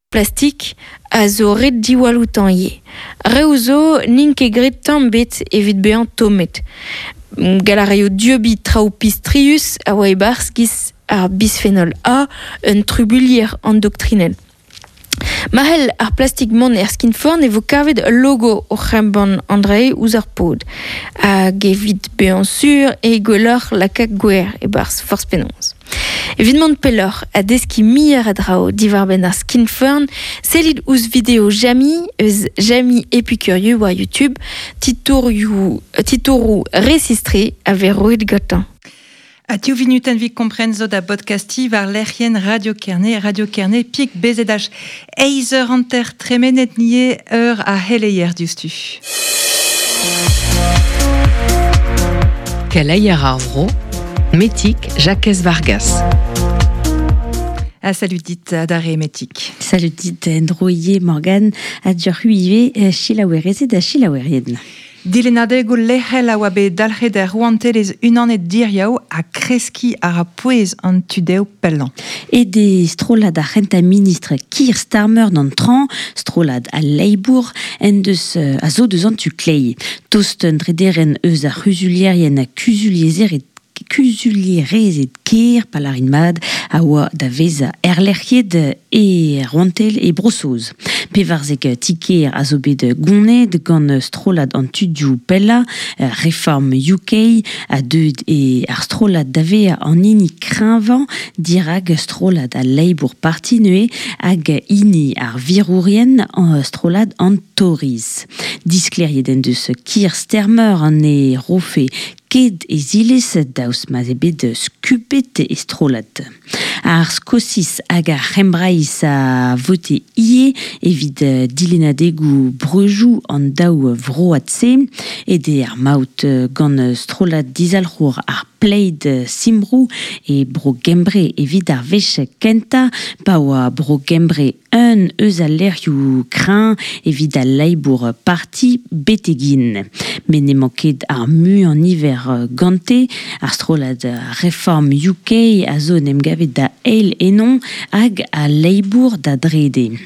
Plastik a zo ret diwall outañ ivez. Reoù zo n'int ket graet tamm ebet evit bezañ tommet. Gall a raio dieubiñ traoù pistrius a oa e-barzh giz ar bisphenol A, un trubuilher andoktrinel. Ma c'hell ar plastik mont er skinforn e vo kavet ul logo oc'h embann an dra-se ouzh ar pod. Hag evit bezañ sur eo gwelloc'h lakaat gwer e-barzh forzh penaos. Evit mont pelloc'h ha deskiñ muioc'h a draoù diwar-benn ar skinforn, sellit ouzh video Jamy eus Jamy Epicurieux war YouTube, titourioù titouroù resis-tre a vez roet gantañ. Ha div vinutenn evit kompren zo da bodkastiñ war lec'hienn Radio Kerne, Radio Kerne pik BZH. Eizh eur hanter tremenet nie eur a c'heleier diouzhtu. Keleier ar vro, Metik Jakez Vargas. Ha salut dit adarre Metik. Salut dit en-dro ivez Morgane, ha dioc'h ivez selaouerezed ha selaouerien. Dilennadegoù lec'hel a oa bet dalc'het er Rouantelezh Unanet diriaou ha kreskiñ a ra pouez an tu-dehou pellañ. Aet eo strollad ar c'hentañ ministr Keir Starmer d'an traoñ, strollad al Labour, en deus a zo deus an tu kleiz. Tost un drederenn eus ar c'huzulierien ha kuzuliezered kuzulierezed kêr Palarin mat a oa da vezañ erlec'hiet e Rouantel e Bro-Saoz. 14 ti-kêr a zo bet goneet gant strollad an tudioù pellañ, Reform UK, ha deuet eo ar strollad da vezañ an hini kreñvañ dirak strollad al Labour Party neuze hag hini ar virourien, strollad an Tories. Disklêriet en deus Keir Starmer an e rofe ket e zilez daoust ma'z eo bet skubet e strollad. Ar Skosiz hag ar C'hembraiz a vote ivez evit dilennadegoù breujoù an daou vroad-se. Aet eo ar maout gant strollad dizalc'hour ar Plaid Cymru e Bro-Gembre evit ar wech kentañ pa oa Bro-Gembre un eus al lec'hioù kreñv evit al Labour Party betek-int. Met n'emañ ket ar muiañ-niver gante. Ar strollad Reform UK a zo en em gavet da eil ennoñ hag al Labour da drede.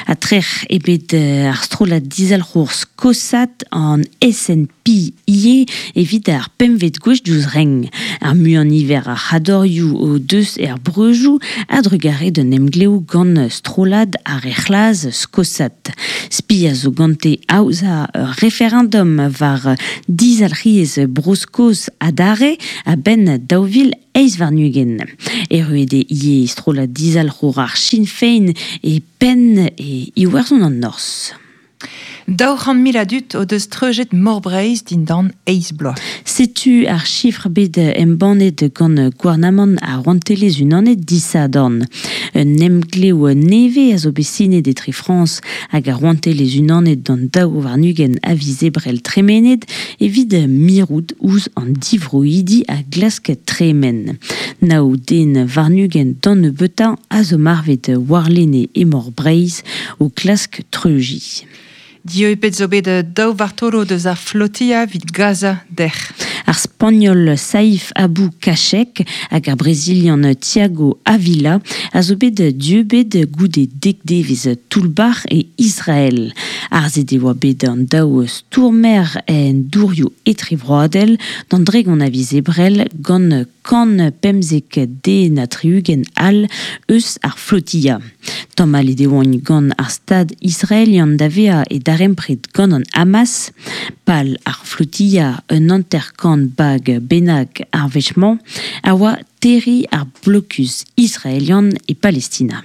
Ha trec'h eo bet ar strollad dizalc'hour skosat an SNP ivez evit ar pempvet gwech diouzh renk. Ar muiañ-niver a c'hadorioù o deus er breujoù a-drugarez d'un emglev gant strollad ar re c'hlas skosat. Spi a zo gante aozañ ur referendum war dizalc'hiezh Bro-Skos adarre a-benn 2028. Erruet eo ivez strollad dizalc'hour ar Sinn Féin e penn e Iwerzhon an Norzh. 200 000 a dud o deus treujet Mor Breizh dindan eizh bloaz. Setu ar chifr bet embannet gant gouarnamant ar Rouantelezh-Unanet disadorn. Un emglev nevez a zo bet sinet etre Frañs hag ar Rouantelezh-Unanet d'an 22 a viz Ebrel tremenet evit mirout ouzh an divroidi a glask tremen. Nav den warn-ugent d'an nebeutañ a zo marvet warlene e Mor Breizh o klask treujiñ. Dieubet zo bet daou vartolod eus ar flotilla evit Gaza dec'h. Ar Spagnol Saif Abou Kachek hag ar Brezilian Thiago Avila a zo bet dieubet goude dek devezh toull-bac'h e Israel. Arzet e oa bet an daou stourmer en dourioù etrevroadel d'an dregont a viz Ebrel gant kant pemzek den ha tri-ugent all eus ar flotilla. Tamallet e oant gant ar Stad israelian da vezañ e darempred gant an Hamas. Pal ar flotilla, un hanter-kant bag bennak ar wech-mañ, a oa terriñ ar blokus israelian e Palestina.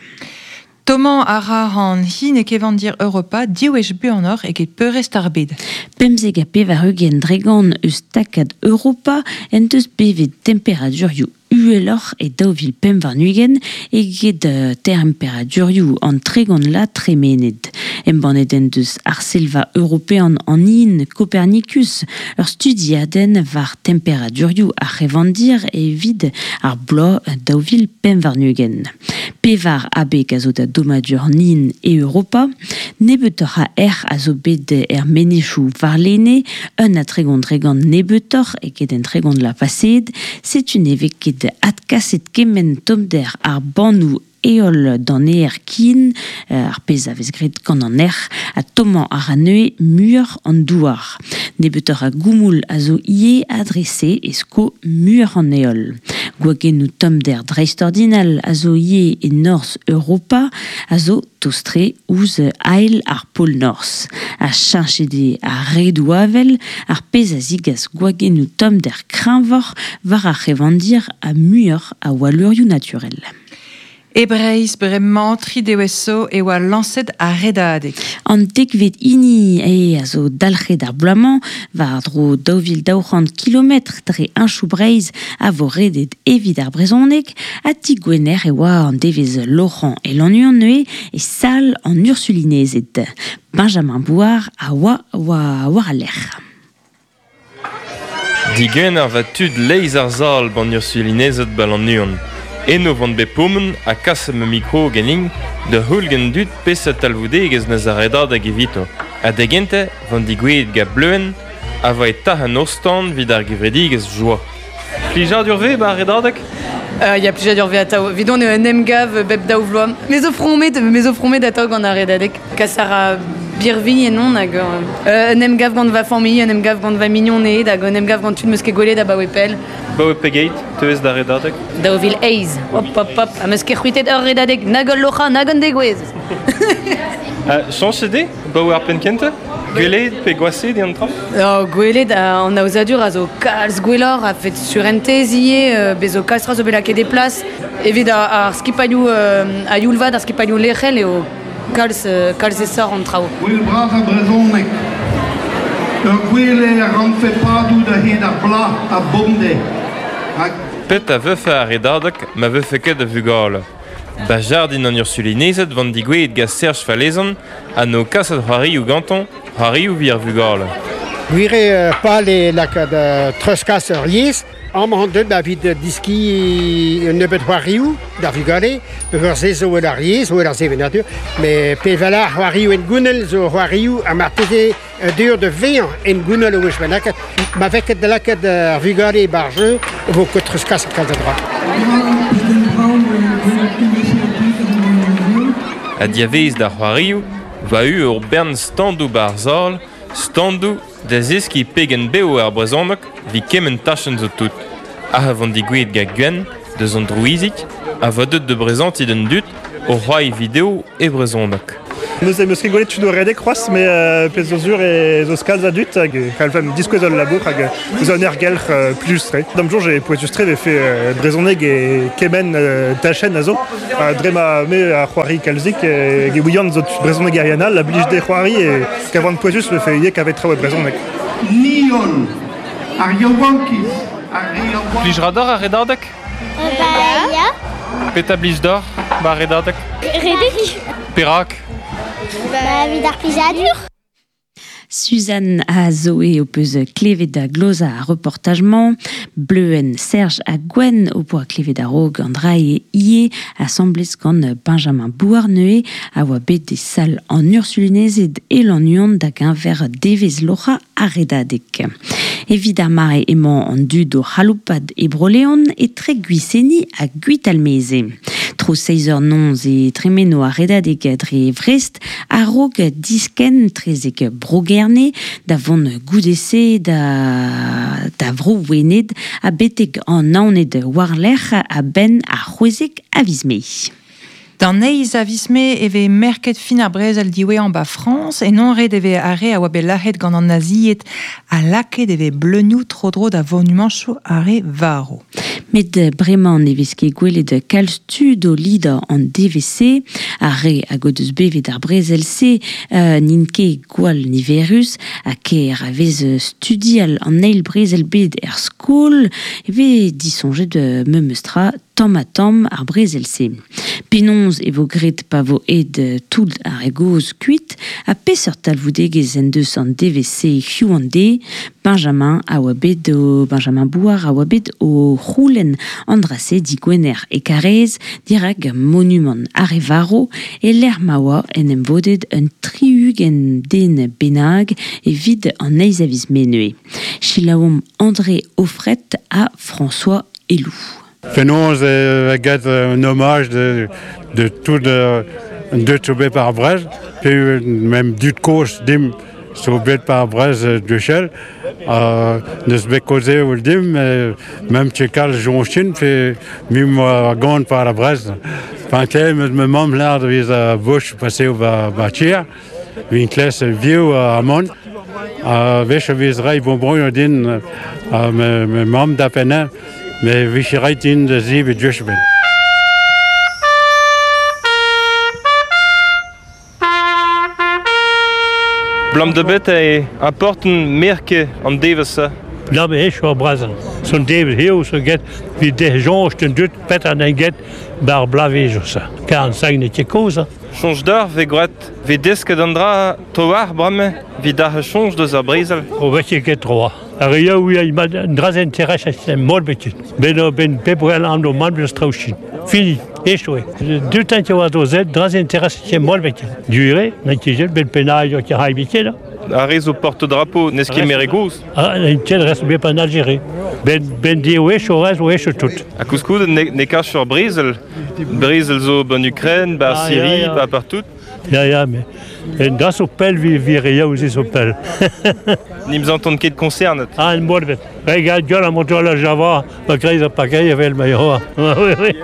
Tommañ a ra an hin e kevandir Europa div wech buanoc'h eget peurrest ar bed. 95% eus takad Europa en deus bevet temperadurioù uheloc'h e 2025 eget temperadurioù an 30 la tremenet. Embannet en deus Arsellva european an hin Copernicus ur studiadenn war temperadurioù ar c'hevandir evit ar bloaz 2025. Pevar abeg a zo da dommadur an hin e Europa. Nebeutoc'h a erc'h a zo bet er menezioù warlene, un ha tregont dregont nebeutoc'h eget en tregont la paseet. Setu ne vez ket adkaset kement tommder ar bannoù heol d'an aer kin, ar pezh a vez graet gant an erc'h, ha tommañ a ra neuze muioc'h an douar. Nebeutoc'h a goumoul a zo ivez ha dre-se e sko muioc'h an heol. Gwagennoù tommder dreistordinal a zo ivez e norzh Europa, a zo tost-tre ouzh ael ar pol norzh. Ha cheñchet eo ar redoù-avel, ar pezh a zigas gwagennoù tommder kreñvoc'h war ar c'hevandir ha muioc'h a walleurioù naturel. E Breizh bremañ tri devezh zo e oa lañset ar Redadeg. An dekvet hini eo a zo dalc'het ar bloaz-mañ, war-dro 2200 kilometr dre heñchoù Breizh a vo redet evit ar brezhoneg, ha ti Gwener e oa an devezh loc'hañ e Lannuon neuze e sal an Ursulinezed. Benjamin Bouard a oa war al lec'h. Digwener 'va tud leizh ar sal 'ban Ursulinezed 'ba Lannuon. Eno 'vont bet pourmen ha kaset ma mikro ganin da heul gant dud peseurt talvoudegezh 'neus ar redadeg evito. Ha da gentañ 'vont digouezhet gant Bleuenn a voa e tac'h an ostan 'vit ar gevredigezh Joa. Plijadur 'vez 'ba ar redadeg? Ya, plijadur 'vez atav. Evidon eo un emgav bep daou vloaz. Me zo fromet, me zo fromet atav gant ar redadeg. Kas a ra birvilh ennon hag un emgav gant va familh, un emgav gant va mignoned hag un emgav gant tud 'meus ket gwelet abaoe pell. Baoe pegeit teuez da redadeg? 2008. Hop, hop, hop. Ha 'meus ket c'hwitet ur redadeg, nag ul loc'hañ, nag un degouezh. Chañchet eo baoe ar penn kentañ? Gwelet pe gwashaet eo an traoù? Oh, gwelet an aozadur a zo kalz gwelloc'h a-fet surentez ivez, bez zo kalz tra zo bet lakaet e plas. Evit ar skipailhoù a-youl vat, ar skipailhoù lec'hel eo kalz, kalz aesoc'h an traoù. Gouel bras ar brezhoneg. Ur gwel eo a rankfe padout a-hed ar bloaz ha bemdez. Rak Pet a vefe ar redadeg ma vefe ket a vugale? Ba jardin an Ursulinezed 'vant digouezhet gant Serge Falezan ha 'no kaset c'hoarioù gantañ, c'hoarioù 'vit ar vugale. Gwir eo pal eo lakaat treuzkas ur yezh. Amañ on deuet evit deskiñ un nebeud c'hoarioù d'ar vugale, peogwir se zo el ar yezh, zo el ar sevenadur. Met pe vel ar c'hoarioù hengounel zo c'hoarioù ha marteze deur da vezañ hengounel o wech bennak. Ma vez ket da lakaat ar vugale e-barzh jeu, e vo ket treuzkaset kalz a dra. Ha diavaez d'ar c'hoarioù, 'va eu ur bern standoù 'ba ar sal, standoù Da zeskiñ pegen bev eo ar brezhoneg evit kement tachenn zo tout. Ac'h vont digouezhet gant Gwenn, deus an Drouizig, a vo deuet da brezantiñ d'an dud o c'hoari video e brezhoneg. Neuze 'meus ket gwelet tud o redek c'hoazh, met pezh zo sur ez eus kalz a dud hag e c'hallfemp diskouez ul labour hag eus un aergelc'h plijus-tre. D'am soñj eo pouezus-tre 'vefe brezhoneg e kement tachenn a zo. Dre ma me a c'hoari kalzik e ouian zo brezhonegerien all a blij dezhe c'hoari e kavan pouezus vefe ivez kavet traoù e brezhoneg. Ni holl, ar yaouankiz, ar re a oa... Plij 'ra deoc'h ar redadeg? Ba ya. Petra blij deoc'h 'ba ar redadeg? Redek. Perak? Ba evit ar plijadur. Suzanne ha Zoé ho peus klevet da glozañ ar reportaj-mañ. Bleuenn, Serge ha Gwenn ho poa klevet a-raok an dra-se ivez, asambles gant Benjamin Bouarneuil, a oa bet e sal an Ursulinezed e Lannuon da geñver devezh loc'hañ ar Redadeg. Evit ar mare emañ an dud o c'haloupat e Bro-Leon etre Gwiseni ha Gwitalmeze. Tro seizh eur noz e tremeno ar Redadeg dre Vrest A-raok diskenn 'trezek Bro-Gerne da vont goude-se da, da Vro-Wened ha betek an Naoned war-lerc'h a-benn ar 16 a viz Mae. D'an eizh a viz Mae e vez merket fin ar brezel diwezhañ 'ba Frañs. Eno ret e vez ar re a oa bet lazhet gant an nazied ha lakaet e vez bleunioù tro-dro da vonumanchoù ar re varv. Met bremañ ne vez ket gwelet kalz tud o lidañ an devezh-se. Ar re hag o deus bevet ar brezel-se n'int ket gwall niverus ha kaer a vez studial an eil brezel-bed er skol e vez disoñjet memes tra tamm-ha-tamm ar brezel-se. Penaos e vo graet pa vo aet tout ar re gozh kuit ha peseurt talvoudegezh en deus an devezh-se hiziv an deiz? Benjamin a oa bet o Benjamin Bouard a oa bet o c'houlenn an dra-se digwener e Karaez dirak monumant ar re varv e-lec'h ma oa en em vodet un 60 den bennak evit an eizh a viz Mae neuze. Selaouomp André Auffret ha François Helou. Fenoz e get un hommage de, de tout an dud zo bet par Brest, pe mem dud kozh dimp zo bet par Brest duchel, neus bet kaoze ul dimp, mem ket kalz joñchin, pe mim oa gant par ar Brest. Enfin, meus ma mamm lâret evit ar Boch paseo ba, ba tier, vin kles viv amon, a wech a vez reiñ bonbonioù din ma, ma mamm da pennañ, me vije reit din da zebriñ duch bet. Blam da bet e aporten merke an devezh-se. Blam eo ar brazen. Son devezh eo so get vi de soñj den dud petra n'en get bar blavezioù-se. Kar an sagne ket kozh. Soñj d'ar vez gwraet vez desket an dra tro-war bremañ evit ar soñj deus ar brezel. O vez ket tro. Ar re yaou an dra-se intereset mod bet. Ben ben pep wel an do man deus traoù Fini, echu eo. Dut int oa do zet, dra-se intereset mod bet. Dure, n'int ket ben penailh o ket bet Ar re zo porte-drapeau n'eus ket mere gozh. Ah, n'int ket rest bet en Algérie. Ben, ben di wech o rez wech tout. Ha koulskoude ne, ne kas ur brezel. Brezel zo ban Ukraine, ba ah, Syrie, ba partout. Ya, ya, mais en da zo pell vi vi re yaou ze zo pell. Nimp zanton ket koncernet. Ah, en mod bet. Regal gueul a monto la Java, pa greiz ha pa greiz evel ma yoa. Oui, oui.